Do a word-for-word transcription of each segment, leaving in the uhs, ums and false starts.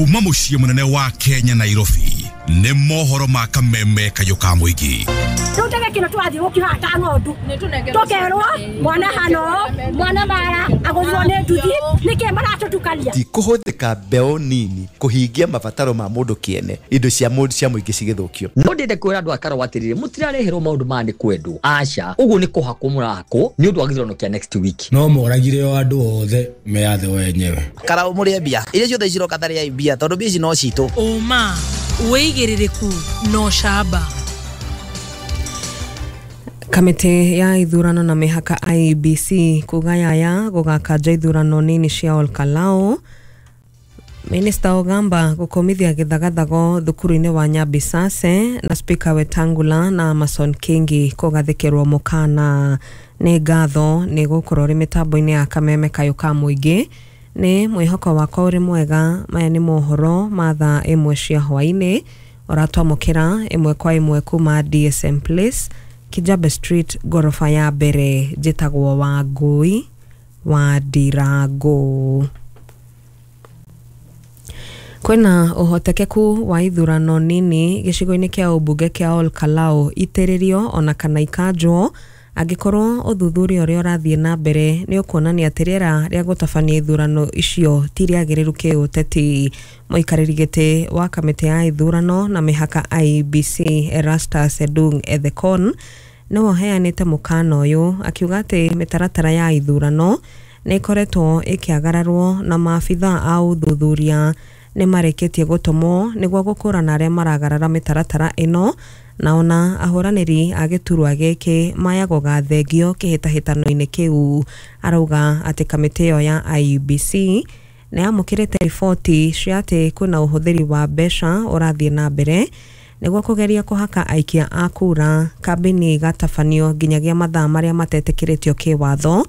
Kuma muciĩ munene wa Kenya Nairobi nĩ mohoro ma kameme kayũ ka mũingĩ. Rĩu kino twathi gũkiha ta ng'ondu tũkerwo mwana hano mwana mara agũthirwo nĩ nduthi nĩkĩ maratũtukania. Ti kũhũthĩka mbeũ nini kũhingia mabataro ma mũndũ kĩene, indo cia mũndũ cia mũingĩ cigĩthũkio. No ndĩende kwĩra andũ a Karau atĩrĩrĩ, mũtirareherwo maũndũ maya nĩ kwendwo, aca, ũguo nĩ kũhakwo mũrahakwo nĩ ũndũ wa gĩthurano kĩa next week. No moragire o andũ othe meyathe wenyewe. Karau mũrĩe mbia iria ciothe ciroka tarĩai mbia tondũ mbia ici no citũ. Ũma wĩigĩrĩrĩku no camba. Kamĩtĩ ya ithurano na mĩhaka I E B C kugayaya gũgakanja ithurano nini cia Olkalou. Minista Ogamba gũkomithia gĩthagathago thukuru-inĩ wa Nyabisase na Speaker Wetangula na Amason Kingi kũgathĩkĩrwo mũkana. Nĩ ngatho nĩ gũkorwo ũrĩ mĩtambo-inĩ ya kameme kayũ ka mũingĩ. Nĩ mwĩhoko wakwa ũrĩ mwega. Maya nĩ mohoro ma thaa ĩmwe cia hwaĩ-inĩ ũratwamũkĩra ĩmwe kwa ĩmwe kuma D S M Place, Kijabe Street, gorofa ya mbere. Njĩtagwo Wangũi wa Ndirango. Kwĩna ũhotekeku wa ithurano nini gĩcigo-inĩ kĩa ũmbunge kĩa Olkalou itĩrĩrio ona kana ikanjwo angĩkorwo ũthuthuria ũrĩa ũrathiĩ na mbere nĩ ũkuonania atĩ rĩera rĩa gũtabania ithurano icio ti rĩagĩrĩru kĩũteti. Mũikarĩri gĩtĩ wa kamĩtĩ ya ithurano na mĩhaka I E B C Erastus Edung Ethekon nĩwe ũheanĩte mũkana ũyũ akiuga atĩ mĩtaratara ya ithurano nĩ ĩkoretwo ĩkĩagararwo na maabithaa a ũthuthuria nĩ marĩkĩtie gũtũmwo nĩguo gũkũrana arĩa maragarara mĩtaratara ĩno, na ona ahũranĩri a gĩturwa gĩkĩ maya gũgathengio kĩhĩtahĩtano-inĩ kĩu. Arauga atĩ kamĩtĩ ĩyo ya I E B C nĩ yamũkĩrĩte riboti cia atĩ kwĩna ũhũthĩri wa mbeca ũrathiĩ na mbere nĩguo kũgeria kũhaka aikia a kura kambĩini igatabanio nginyagia mathaa marĩa matetĩkĩrĩtio kĩwatho.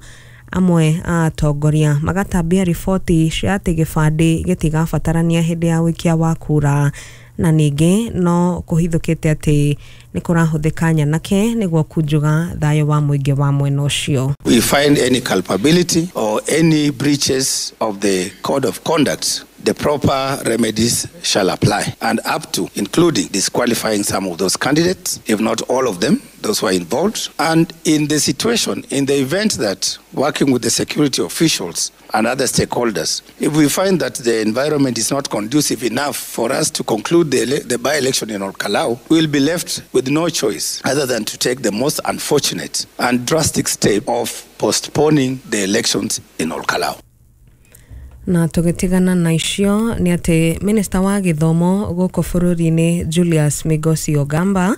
Amwe a atongoria magatambia riboti cia atĩ gĩbandĩ gĩtigabatarania hĩndĩ ya ũikia wa kura, na ningĩ no kũhithũkĩte atĩ nĩ kũrahũthĩka nyanake nĩguo kunjuga thayũ wa mũingĩ wa mwena ũcio. We find any culpability or any breaches of the code of conduct, the proper remedies shall apply, and up to including disqualifying some of those candidates, if not all of them, those who are involved. And in the situation, in the event that working with the security officials and other stakeholders, if we find that the environment is not conducive enough for us to conclude the, the by-election in Olkalou, we will be left with no choice other than to take the most unfortunate and drastic step of postponing the elections in Olkalou. Na tũgĩtigana na icio nĩ atĩ minista wa gĩthomo gũkũ bũrũri-inĩ Julius Migosi Ogamba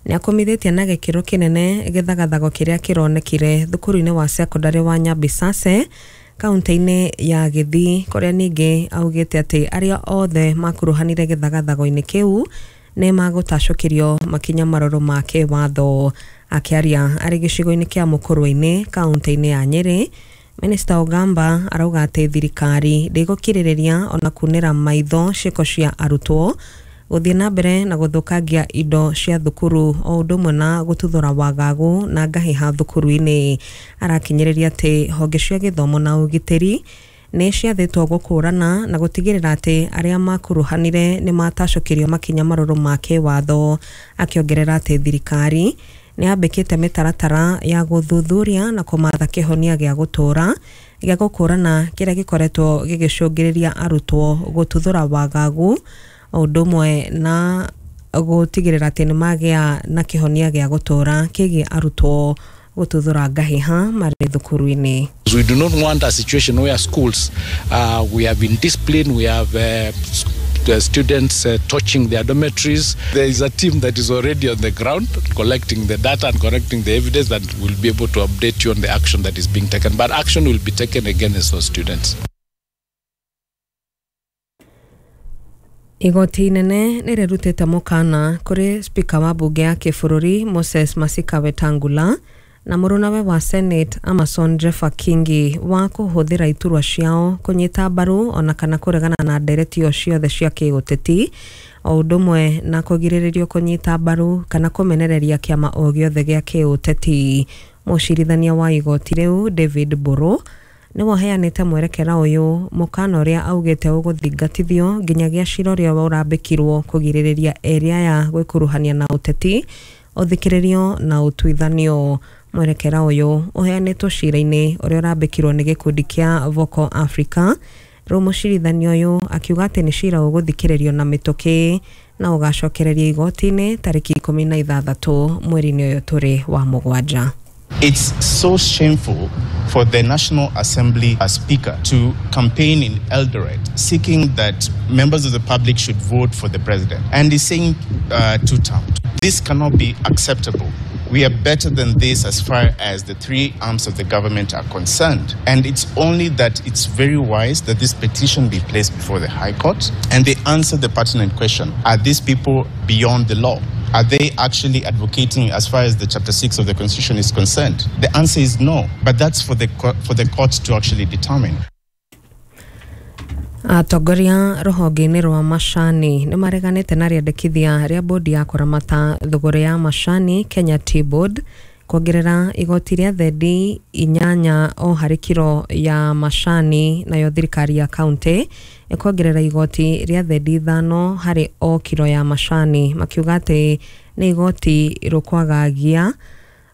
nĩ akomithĩtie na gĩkĩro kĩnene gĩthagathago kĩrĩa kĩronekire thukuru-inĩ wa sekondarĩ wa Nyabisase kaunti-inĩ ya Gĩthii, kũrĩa ningĩ augĩte atĩ arĩa othe makuruhanire gĩthagathago-inĩ kĩu nĩ magũtacũkĩrio makinya marũrũ ma kĩwatho. Akĩaria arĩ gĩcigo-inĩ kĩa Mũkũrwe-inĩ kaunti-inĩ ya Nyĩrĩ, Minista Ogamba arauga atĩ thirikari ndĩgũkirĩrĩria ona kunĩra maitho ciĩko cia arutwo gũthiĩ na mbere na gũthũkangia indo cia thukuru o ũndũ ũmwe na gũtuthũra wagagu na ngahĩha thukuru-inĩ. Arakinyĩrĩria atĩ honge cia gĩthomo na ũgitĩri nĩ ciathĩtwo gũkũrana na gũtigĩrĩra atĩ arĩa makuruhanire nĩ matacũkĩrio makinya marũrũ ma kĩwatho, akĩongerera atĩ thirikari nĩ yambĩkĩte mĩtaratara ya gũthuthuria na kũmatha kĩhonia gĩa gũtũũra gĩa gũkũrana kĩrĩa gĩkoretwo gĩgĩcũngĩrĩria arutwo gũtuthũra wagagu o ũndũ ũmwe na gũtigĩrĩra atĩ nĩ magĩa na kĩhonia gĩa gũtũũra kĩgiĩ arutwo gũtuthũra ngahĩha marĩ thukuru-inĩ. We do not want a situation where schools, uh, we have indiscipline, we have uh, the students uh, touching their dormitories. There is a team that is already on the ground collecting the data and collecting the evidence that will be able to update you on the action that is being taken. But action will be taken against those students. Igoti inene nĩ rĩrutĩte mũkana kũrĩ Speaker wa mbunge ya kĩbũrũri Moses Masika Wetangula na mũrũnawe wa Senate Amason Jeffa Kingi wa kũhũthĩra iturwa ciao kũnyita mbaru ona kana kũregana na ndereti o ciothe cia kĩũteti o ũndũ ũmwe na kũgirĩrĩrio kũnyita mbaru kana kũmenereria kĩama o gĩothe gĩa kĩũteti. Mũcirithania wa igoti rĩu David Mburu nĩwe ũheanĩte mwerekera ũyũ mũkana ũrĩa augĩte ũgũthingatithio nginyagia cira ũrĩa ũrambĩkirwo kũgirĩrĩria erĩ aya gwĩkuruhania na ũteti ũthikĩrĩrio na ũtuithanio. Mwerekera ũyũ ũheanĩtwo cira-inĩ ũrĩa ũrambĩkirwo nĩ gĩkundi kĩa Vocal Africa. Rĩu mũcirithanio ũyũ akiuga atĩ nĩ cira ũgũthikĩrĩrio na mĩtũkĩ na ũgacokererio igoti-inĩ tarĩki ikũmi na ithathatũ mweri-inĩ ũyũ tũrĩ wa mũgwanja. It's so shameful for the National Assembly Speaker to campaign in Eldoret seeking that members of the public should vote for the president. And he's saying uh, two terms. This cannot be acceptable. We are better than this as far as the three arms of the government are concerned. And it's only that it's very wise that this petition be placed before the High Court and they answer the pertinent question. Are these people beyond the law? Are they actually advocating as far as the Chapter six of the Constitution is concerned? The answer is no, but that's for the, for the court to actually determine. Atongoria rũhonge-inĩ rwa macani nĩ mareganĩte na rĩendekithia rĩa bodi ya kũramata thũgũrĩ ya macani Kenya Tea Board kuongerera igoti rĩa thendi inyanya o harĩ kiro ya macani, nayo thirikari ya kaunti ĩkuongerera igoti rĩa thendi ithano harĩ o kiro ya macani, makiuga atĩ nĩ igoti rũkwagagia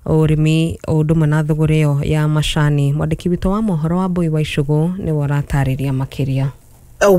ũrĩmi o ũndũ ũmwe na thũgũrĩ ĩyo ya macani. Mwandĩki witũ wa mohoro wa Mbui wa Icũgũ nĩwe ũratarĩria makĩria.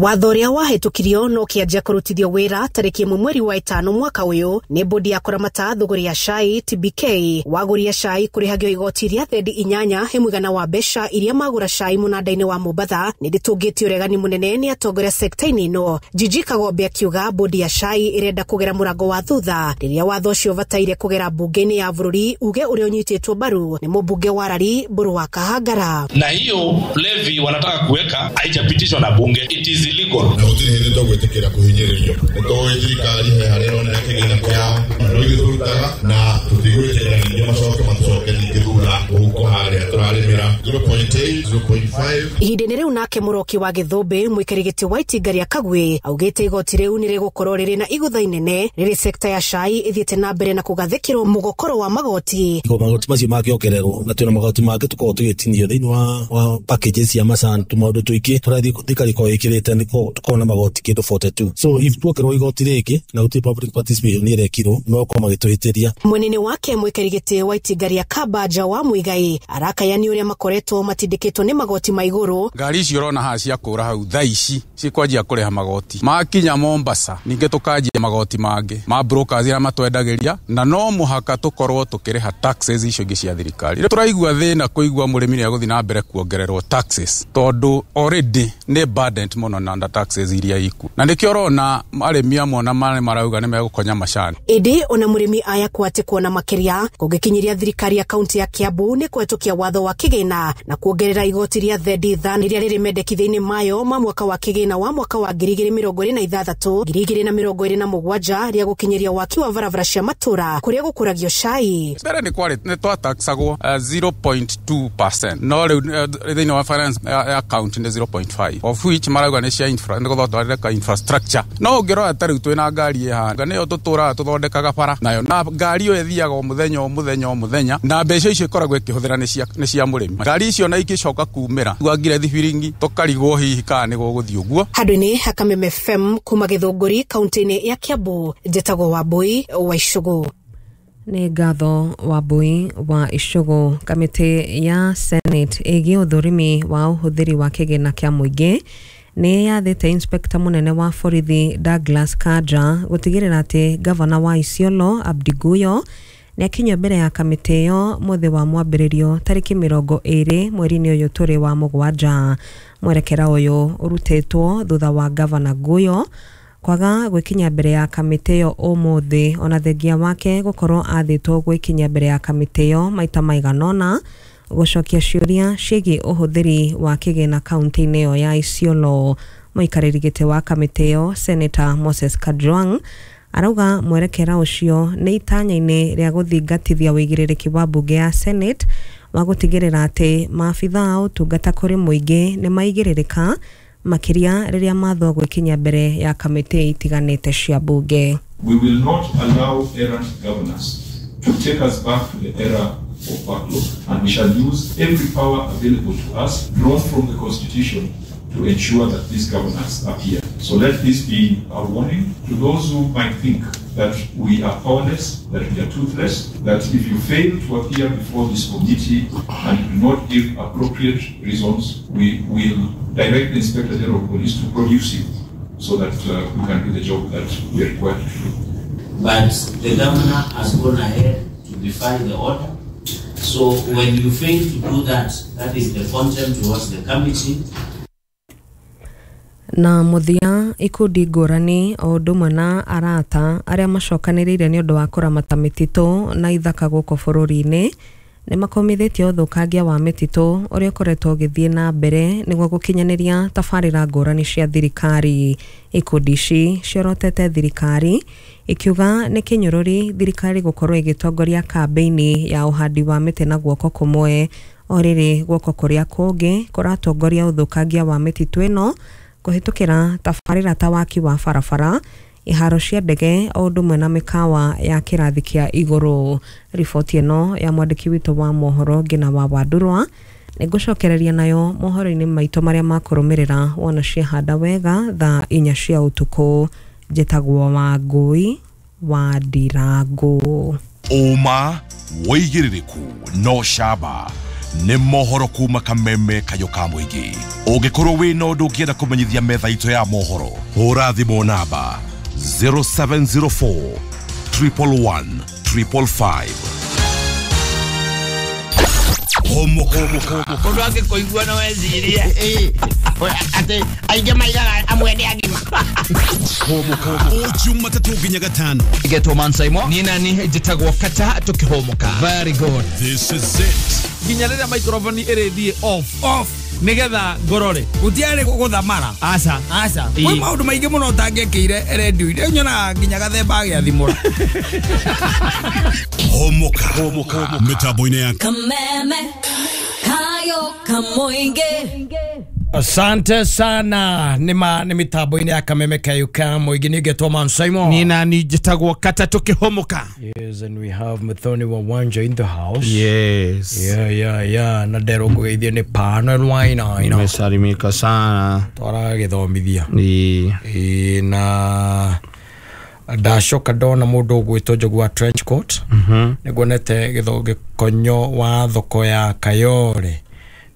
Watho ũrĩa wahĩtũkirio no kĩanjia kũrutithio wĩra tarĩki ĩmwe mweri wa ĩtano mwaka ũyũ nĩ bodi ya kũramata thũgũrĩ ya cai T B K. Wagũria cai kũrĩhagio igoti rĩa thendi inyanya he mũigana wa mbeca iria magũra cai mũnanda-inĩ wa Mombatha nĩ rĩtũngĩtio ũregani mũnene nĩ atongoria sekta-inĩ ĩno. Jiji Kagombe akiuga bodi ya cai ĩrenda kũgera mũrango wa thutha rĩrĩa watho ũcio ũbataire kũgera mbunge-inĩ ya bũrũri uge ũrĩa ũnyitĩtwo mbaru nĩ mũmbunge wa Rari Mbũrũ wa Kahangara. Na hiyo levy wanataka kuweka haijapitishwa na bunge. It is illegal. Na gũtirĩ hĩndĩ tũgwĩtĩkĩra kũhinyĩrĩrio. Nĩ tũĩ thirikari he harĩa ĩrona kĩgĩna kĩao na rĩu ithuĩ tũrutaga na tũtigwĩtĩkĩra ningĩ macoke matũcoke ningĩ thutha mũhuko harĩa tũrarĩmĩra zero point eight, zero point five. Ihinda-inĩ rĩu nake Mũroki wa Gĩthũmbĩ mũikarĩri gĩtĩ wa itinga rĩa Kagwĩ augĩte igoti rĩu nĩ rĩgũkorwo rĩrĩ na igũtha inene rĩrĩ sekta ya cai ĩthiĩte na mbere na kũgathĩkĩrwo mũgokoro wa magoti. Magoti macio mangĩongererwo na twĩna magoti mangĩ tũkoragwo tũgĩtinio thĩinĩ wa, wa packages cia macani tũmaũndũ tũingĩ tũrathiĩ thirikari ĩkoragwo ĩkĩrĩte nĩ tũkorwo na magoti kĩndũ forty-two. So if tuongererwo igoti rĩngĩ na gũtirĩ public participation nĩ ĩrekirwo no gũkorwo magĩtũhĩtĩria. Mwenene wake mũikarĩri gĩtĩ wa itinga rĩa Kambanja wa Muigai arakaya nĩ ũrĩa makoretwo matindĩkĩtwo nĩ magoti ma igũrũ. Ngari icio ũrona haha cia kũra hau thaa ici cikwanjia kũrĩha magoti makinya Mombasa, ningĩ tũkanjia magoti mangĩ ma brokers arĩa matwendagĩria, na no mũhaka tũkorwo tũkĩrĩha taxes icio ingĩ cia thirikari. Rĩu tũraigua thĩna kũigua mũrĩmi nĩ egũthiĩ na mbere kuongererwo taxes tondũ already nĩ burdened mũno na taxes iria ikuo, na nĩkĩo ũrona arĩmi amwe ona marauga nĩ megũkonya macani. Ĩndĩ ona mũrĩmi aya kwate kuona makĩria kũngĩkinyiria thirikari ya kaunti ya Kiambu nĩ kũhetũkia watho wa kĩgĩna na kuongerera igoti rĩa thendi ithano rĩrĩa rĩrĩ mendekithia-inĩ mayo ma mwaka wa kĩgĩna wa mwaka wa ngiri igĩrĩ mĩrongo ĩrĩ na ithathatũ ngiri igĩrĩ na mĩrongo ĩrĩ na mũgwanja rĩa gũkinyĩria waki wa barabara cia matũra kũrĩa gũkũragio cai. Mbere nĩ kwarĩ nĩ twataxagwo zero point two percent, no rĩu thĩinĩ wa finance ya county nĩ zero point five of which marauga nĩ cia infra nĩ gũthondeka infrastructure. No ũngĩrora ta rĩu twĩna ngari ĩhana nĩyo tũtũraga tũthondekaga bara nayo, na ngari ĩyo ĩthiaga o mũthenya o mũthenya o mũthenya, na mbeca icio ikoragwo ĩkĩhũthĩra nĩ cia mũrĩmi. Ngari icio na ikĩcoka kumĩra gwangire thibiringi tũkarigwo hihi kana nĩ gũgũthiĩ ũguo. Handũ-inĩ ha Kameme F M kuma Gĩthũngũri kaunti-inĩ ya Kiambu, njĩtagwo Wambui wa Icũgũ. Nĩ ngatho Wambui wa Icũgũ. Kamĩtĩ ya Senate ĩgiĩ ũthũrimi wa ũhũthĩri wa kĩgĩna kĩa mũingĩ nĩ yathĩte inspector mũnene wa borithi Douglas Kanja gũtigĩrĩra atĩ gavana wa Isiolo Abdi Guyo nĩ akinyio mbere ya kamĩtĩ ĩyo mũthĩ wa mwambĩrĩrio tarĩki mĩrongo ĩrĩ mweri-inĩ ũyũ tũrĩ wa mũgwanja. Mwerekera ũyũ ũrutĩtwo thutha wa gavana Guyo kwaga gwĩkinya mbere ya kamĩtĩ ĩyo ũmũthĩ, ona thengia wake gũkorwo athĩtwo gwĩkinya mbere ya kamĩtĩ ĩyo maita maigana ũna gũcokia ciũria ciĩgiĩ ũhũthĩri wa kĩgĩna kaunti-inĩ ĩyo ya Isiolo. Mũikarĩri gĩtĩ wa kamĩtĩ ĩyo Senator Moses Kajwang arauga mwerekera ũcio nĩ itanya-inĩ rĩa gũthingatithia ũigĩrĩrĩki wa mbunge ya Senate wa gũtigĩrĩra atĩ maabitha a ũtungata kũrĩ mũingĩ nĩ maigĩrĩrĩka makĩria rĩrĩa mathwo gwĩkinya mbere ya kamĩtĩ itiganĩte cia mbunge. We will not allow errant governors to take us back to the era of backlog. And we shall use every power available to us, drawn from the Constitution, to ensure that these governors appear. So let this be a warning to those who might think that we are powerless, that we are toothless, that if you fail to appear before this committee and do not give appropriate reasons, we will direct the Inspector General of Police to produce you so that uh, we can do the job that we are required to do. But the governor has gone ahead to defy the order. So when you fail to do that, that is the contempt towards the committee. Na muthia ikundi ngũrani o ũndũ ũmwe na arata arĩa macokanĩrĩire nĩ ũndũ wa kũramata mĩtitũ na ithaka gũkũ bũrũri-inĩ nĩ makomithĩtie ũthũkangia wa mĩtitũ ũrĩa ũkoretwo ũgĩthiĩ na mbere nĩguo gũkinyanĩria tabarĩra ngũrani cia thirikari. Ikundi ici ciorotete thirikari ikiuga nĩ kĩnyũrũri thirikari gũkorwo ĩgĩtongoria kambĩini ya ũhandi wa mĩtĩ na guoko kũmwe, o rĩrĩ guoko kũrĩa kũngĩ kũratongoria ũthũkangia wa mĩtitũ ĩno kũhĩtũkĩra tabarĩra ta waki wa barabara, iharo cia ndege o ũndũ ũmwe na mĩkawa ya kĩrathi kĩa igũrũ. Riboti ĩno ya mwandĩki witũ wa mohoro Ngina wa Wandurwa nĩngũcokereria nayo mohoro-inĩ maitũ marĩa makũrũmĩrĩra wona ciahanda wega thaa inya cia ũtukũ. Njĩtagwo Wangũi wa Ndirangũ. Ũma wĩigĩrĩrĩku no camba nĩ mohoro kuma Kameme Kayũ ka Mũingĩ. Ũngĩkorwo wĩna ũndũ ũngĩenda kũmenyithia metha itũ ya mohoro, hũra thimũ namba zero seven zero four, triple one, triple five. Mũndũ angĩkũigua no ecirie atĩ aingĩ maigaga amwe nĩ agima. O Jumatatũ nginya gatano. Getwo Mansaimo. Niĩ nani njĩtagwo Kata tũkĩhũmũka. Very good. This is it. Nginya rĩrĩa microphone ĩrĩthiĩ off off nigetha ngorore gutiarĩ gũthamara. Aca aca kwĩ maũndũ maingĩ mũno ũtangĩkĩire redio-inĩ nyonaga nginya gathemba agĩathimũra. Homoka homoka mĩtambo-inĩ ya Kameme Kayo Kamoinge. Asante sana nima ni mitambo-inĩ ya Kameme Kayo ka Mũingĩ. Nĩ ngetwo Mansaimo. Niĩ nani njĩtagwo Kata tũkĩhũmũka. Yes, and we have Muthoni wa Wanja in the house. Yes. Yeah, yeah, yeah. Na ndero kũgeithio nĩ Pano Wainaina. Nimesalimika sana. Twaragĩthomithia. Ĩĩ. Ĩĩ na ndacoka ndona mũndũ ũgwĩtwo Njogu wa trench coat. Mhm. Nĩguonete gĩkonyo wa thoko ya Kayore.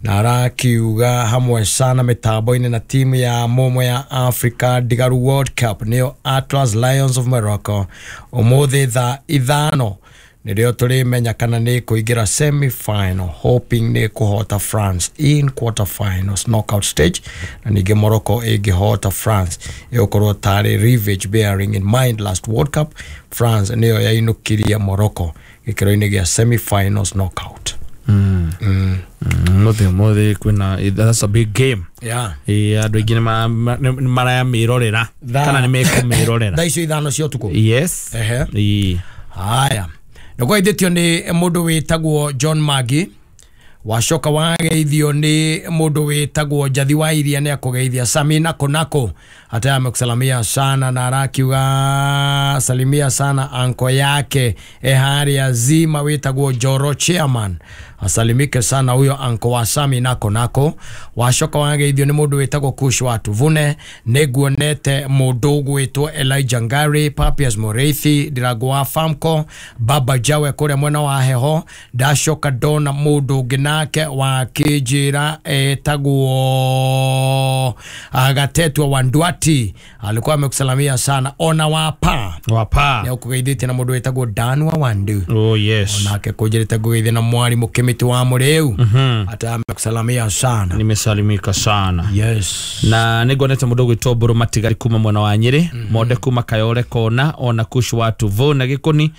Na arakiuga hamwe sana mitambo-inĩ na timu ya Momo ya Africa Digaru World Cup nĩyo Atlas Lions of Morocco ũmũthĩ thaa ithano nĩrĩo tũrĩmenya kana nĩ kũingĩra semi final, hoping nĩ kũhota France in quarter finals knockout stage, na ningĩ Morocco ĩngĩhota France ĩgũkorwo tarĩ revenge bearing in mind last World Cup France nĩyo yainũkirie Morocco gĩkĩro-inĩ gĩa semi finals knockout. Mm. Mm. Mũthĩ ũmũthĩ kwĩna that's a big game. Yeah. Ĩĩ andũ aingĩ nĩ marayamĩrorera kana nĩ mekũmĩrorera thaa icio ithano cia ũtukũ. Yes. Ehe. Ĩĩ. Haya. Nĩkwaithĩtio nĩ mũndũ wĩtagwo John Magi. Wacoka wageithio nĩ mũndũ wĩtagwo Njathi wa Iria nĩ akũgeithia Samina Konako hata amekusalamia sana na arakiuga salimia sana anko yake eharia zima wĩtagwo Joro chairman, asalimike sana huyo anko wa Samina Konako. Wacoka wageithio nĩ mũndũ wĩtagwo Kush wa Tuvune. Nĩguonete mũndũ ũgwĩtwo Elijah Ngari, Papias Moreithi, Ndirago wa Famco, Baba Jawe kũrĩa mwena wa Heho. Ndacoka ndona mũndũ ũngĩ nake wa kĩnjĩra etagwo Agatetwa wa Ndwati alikuwa amekusalamia sana. Ona wapa wapa nĩ ũkũgeithĩtie na mũndũ wĩtagwo Dan wa Wandu. Oh yes. Onake kũnjĩrĩte ngũgeithie na mwarimũ Kĩmĩtĩ wa Mũrĩu. Mhm. Ata amekusalamia sana. Nimesalimika sana. Yes. Na nĩnguonete mũndũ ũgwĩtwo Mbũrũ Matigari kuma mwena wa Nyĩrĩ, Monde kuma Kayore Kona, ona Kush wa Tuvu na Gĩkũni,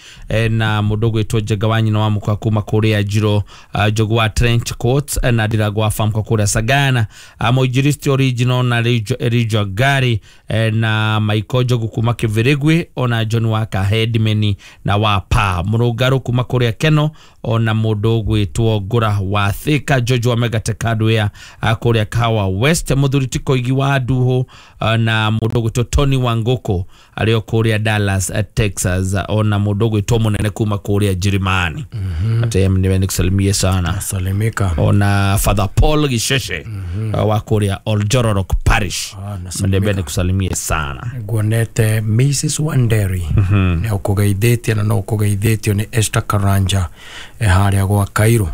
na mũndũ ũgwĩtwo Njenga wa nyina wa mũkwa kuma kũrĩa Njiro, Njogu wa Trench Coat na Ndirago wa Famco kũrĩa Sagana, Mũinjilisti original na Elijah Gari na Michael Njogu kuma Kĩbĩrĩgwi, ona John wa Kahedimeni na wa Pa Mũrũngarũ kuma kũrĩa Keno, ona mũndũ ũgwĩtwo gwitwo Ngura wa Thika, George wa Megate Hardware kuria Kawa West, muthuri Tikoigi wa Nduhu na mundu gwitwo Tony Wangoko ario kuria Dallas Texas, ona mundu gwitwo munene kuma kuria Jerumani. Ate nimekusalimia sana. Salimika. Ona Father Paul Gisheshe mm -hmm. wa kuria Oljororok Parish. Ah, nimekusalimia sana. Guonete Missus Wanderi. Mm -hmm. Ne ukugeithitie na no ukugeithitio ni Esther Karanja e haria gwa Cairo.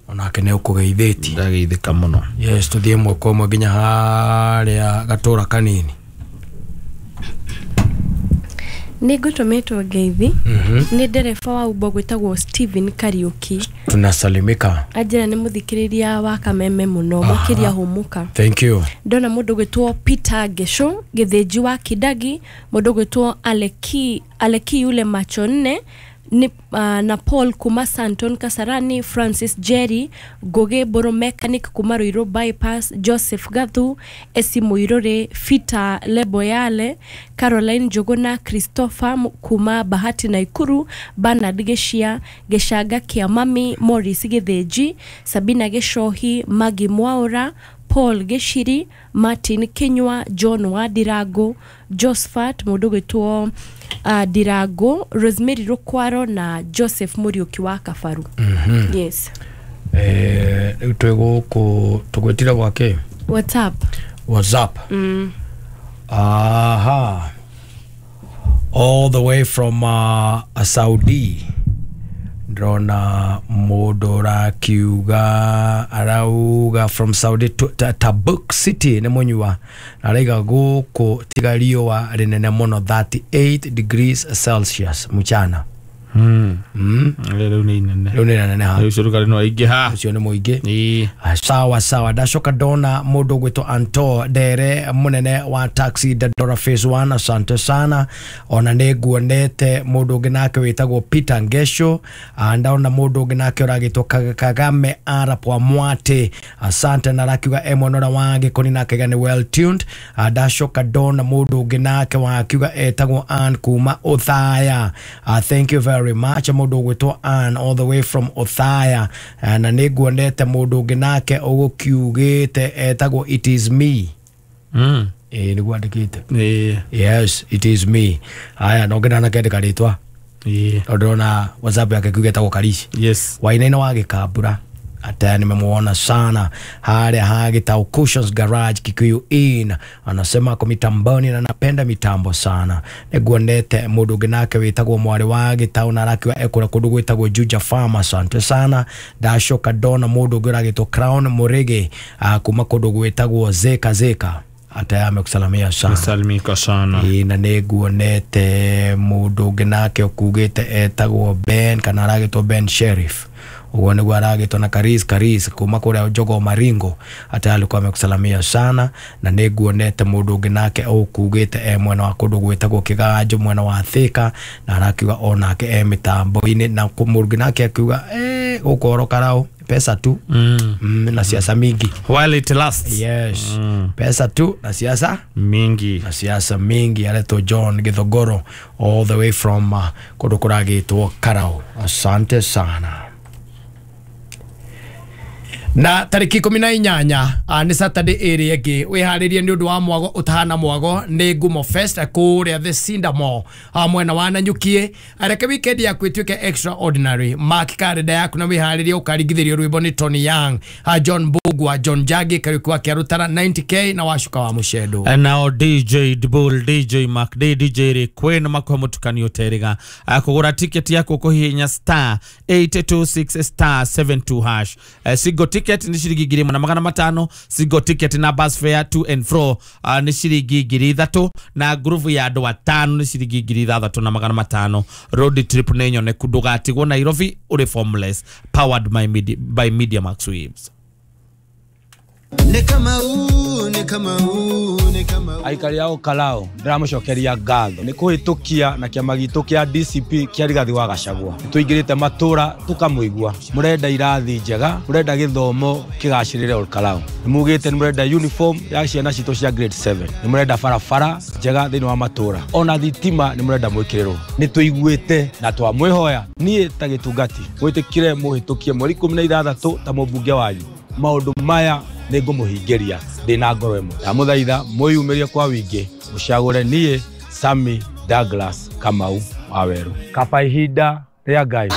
Onake ne ukugeithitie. Ndageithika muno. Yes, tuthie mwako mwe nginya haria gatura kanini. Nĩngũtũmĩtwo ngeithi. mm -hmm. Nĩ ndereba wa Uber gwĩtagwo Steven Kariuki. Tunasalimika. Anjĩra nĩ mũthikĩrĩria wa Kameme mũno makĩria hũmũka. Thank you. Ndona mũndũ gwĩtwo Peter Ngesho Gĩthĩnji wa Kidagi, mũndũ gwĩtwo Aleki Aleki yule macho nne ni, uh, na Paul kuma Santon Kasarani, Francis Jerry Goge Boro Mechanic kuma Ruiru Bypass, Joseph Gathu Esi Muirore, Fita Leboyale, Caroline Jogona, Christopher kuma Bahati Naikuru, Bernard Geshia, Geshaga Kiamami, Morris Getheji, Sabina Geshohi, Maggie Mwaura, Paul Geshiri, Martin Kenywa, John Wadirago, Josephat mundu gwitwo uh, Dirago, Rosemary Rukwaro na Joseph Muriuki wa Kabaru. Mm -hmm. Yes. Eh, twego tugwetira gwake WhatsApp. WhatsApp. Mm. Aha. All the way from uh, Saudi. Ndrona mundu kiuga arauga from Saudi to Tabuk City ni munyua na araiga guku tiga riũa rinene muno thirty-eight degrees Celsius muchana. Mm. Mm. Rĩu nĩ inene. Rĩu nĩ inene ha. Rĩu ũcio no aingĩ ha. Ũcio nĩ mũingĩ. Sawa sawa. Ndacoka ndona mũndũ ũgwĩtwo Anto Ndere mũnene wa taxi Dandora Phase one, asante sana. Ona nĩ nguonete mũndũ ũngĩ nake wĩtagwo Peter Ngesho. Ndaona mũndũ ũngĩ nake ũragĩtwo Kagame Arap wa Mwate, asante. Na arakiuga e mwena ũrĩa wa Gĩkũni nake nĩ well tuned. Ndacoka ndona mũndũ ũngĩ nake wakiuga etagwo Ann kuma Othaya. Thank you very much mundu ugwitwo Ann all the way from Othaya. Na nĩnguonete mundu ũngĩ nake ũgũkiugĩte etagwo it is me. Mm. Eh, nĩguo andĩkĩte. Eh. Yes, it is me. Aya no ngena na kendeka rĩtwa. Eh. Ndona WhatsApp yake kiuge etagwo Karishi. Yes. Wainaina wa Gĩkambura. Ata nimemuona sana haria hagitau Cushions Garage Kikuyu Inn, anasema ako mitamboni na napenda mitambo sana. Nĩnguonete mundu ũngĩ nake wĩtagwo mwari wa Gĩtau na arakiuga ekũrĩa kũndũ gwĩtagwo Juja Farm, asante sana. Ndacoka ndona mundu ũngĩ ũragĩtwo Crown Murigi kuma kũndũ gwĩtagwo Zeka Zeka. Ata amekusalamia sana. Salimika sana. Ĩ, na nĩnguonete mundu ũngĩ nake ũkugĩte etagwo Ben kana aragĩtwo Ben Sheriff. Ugo nĩguo aragĩtwo na Karis Karis kuma kũrĩa Jogoo Maringo. Ata alikuwa amekusalamia sana. Na nĩnguonete mũndũ ũngĩ nake ũkugĩte e mwena wa kũndũ gwĩtagwo Kĩganjo mwena wa Thika na arakiuga onake e mĩtambo-inĩ. Na mũndũ ũngĩ nake akiuga eh gũkũ oro karau pesa tu. Mm. Mm, na siasa mingi. While it lasts. Yes. Mm. Pesa tu na siasa mingi. Na siasa mingi. Aretwo John Githogoro all the way from uh, kũndũ kũragĩtwo Karau. Asante sana. Na tariki ikumi na inyanya nĩ Saturday ĩrĩa ĩngĩ wĩharĩrie nĩ ũndũ wa mwago ũtahana mwago nĩ Ngumo Fest kũrĩa The Cinder Mall mwena wa Nanyukie. Reke weekend yaku ĩtuĩke extraordinary. Mark karenda yaku na wĩharĩrie ũkaringithĩrio rwĩmbo nĩ Tony Young, John Mbugua, John Njagi, Kariuki wa Kĩarutara ninety K na Wacuka wa Mũcendo. Nao D J Dbull, D J Mark D, D J Ray makũhe mũtukanio ũterĩga. Kũgũra tiketi yaku kũhihinya star eight two six star seven two hash. Single ticket ni shilingi ngiri ĩmwe na magana matano, single ticket na bus fare to and fro uh, ni shilingi ngiri ithatu, na groove ya andũ atano ni shilingi ngiri ithathatũ na magana matano. Road trip nĩ nyoneku, ndũgatigwo Nairobi ũrĩ formless. Powered by Media, by Media Max Waves. Nĩ Kamau, nĩ Kamau, nĩ Kamau. Aikari a Olkalou ndĩramũcokeria ngatho nĩ kũhĩtũkia na kĩama gitũ kĩa D C P kĩa Rigathi wa Gachagua. Tũingĩrĩte matũra tũkamũigua, mũrenda irathi njega, mũrenda gĩthomo kĩgacĩrĩre Olkalou, nĩ mugĩte nĩ mũrenda uniform ya ciana citũ cia grade seven, nĩ mũrenda barabara njega thĩinĩ wa matũra, ona thitima nĩ mũrenda mwĩkĩrĩrwo. Nĩ tũiguĩte na twamwĩhoya niĩ ta gĩtungati mwĩtĩkire mũhĩtũkie mweri ikũmi na ithathatũ ta mũmbunge wanyu. Maũndũ maya nĩ ngũmũhingĩria ndĩ na ngoro ĩmwe. Ndamũthaitha mwĩyumĩrie kwa wingĩ mũcagũre niĩ Sammy Douglas Kamau wa Weru. Kaba ihinda rĩa Ngai.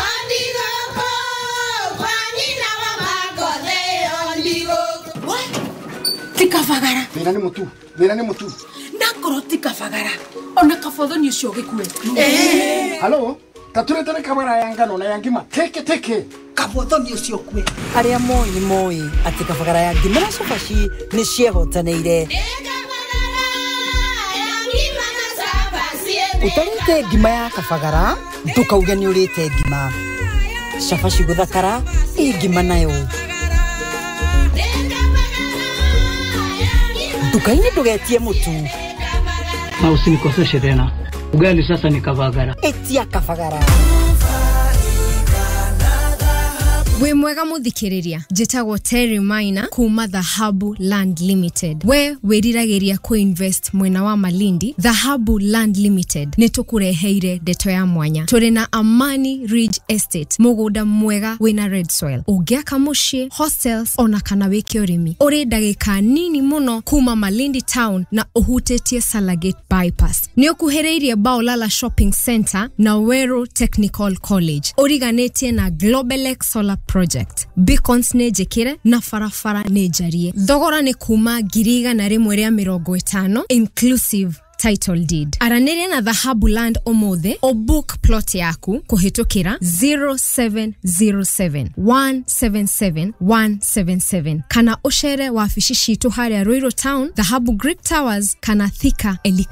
Ti kabagara. Thĩna nĩ mũtu, thĩna nĩ mũtu. Ndakorwo ti kabagara ona kabothoni ũcio gĩkue. Halo, taturetere kabara ya ngano na ya ngima teke teke. Kabothoni ũcio kue. Arĩa moĩ nĩ moĩ atĩ kabagara ya ngima na cabaci nĩ ciehotanĩire. Ũtarĩte ngima ya kabagara ndũkauge nĩ ũrĩte ngima. Cabaci gũthakara ĩ ngima nayo. Nduka-inĩ ndũgetie mũtu. Na usinikoseshe tena. Ugali sasa ni kabagara. Etia kabagara. Wĩ mwega mũthikĩrĩria, njĩtagwo Terry Maina kuma Dhahabu Land Limited. We wĩriragĩria kũ-invest mwena wa Malindi, Dhahabu Land Limited nĩ tũkũreheire ndeto ya mwanya. Tũrĩ na Amani Ridge Estate, mũgũnda mwega wĩna red soil. Ũngĩaka mũciĩ, hostels ona kana wĩke ũrĩmi. Ũrĩ ndagĩka nini mũno kuma Malindi town na ũhutĩtie Salagate bypass. Nĩ ũkuhĩrĩirie Baolala Shopping Center na Weru Technical College. Ũriganĩtie na Globelex Solar Project. Beacons nĩ njĩkĩre na barabara nĩ njarie. Thogora nĩ kuma ngiri igana rĩmwe rĩa mĩrongo ĩtano inclusive title deed. Aranĩria na Dhahabu Land ũmũthĩ o book plot yaku kũhĩtũkĩra zero seven zero seven one seven seven one seven seven kana ũcere wabici citũ harĩa Ruiru Town, Dhahabu Greek Towers kana Thika Elika